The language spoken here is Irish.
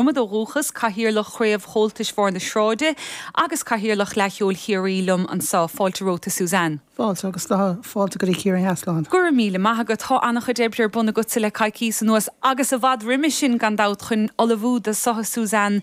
Dromad ó dhúchas, Cathaoirleach Chraobh Chomhaltais Bharr na Sráide agus Cathaoirleach Fhleadh Cheoil Chiarraí liom anseo. Fáilte romhat a Suzanne. Fáilte agus tá fáilte go dtí Ciarraí Theas, Slán. Go raibh míle maith agat. Tá an-chuid oibre ar bun agatsa le coicíos anuas agus i bhfad roimhe sin gan dabht chun ullmhú do seo a Suzanne.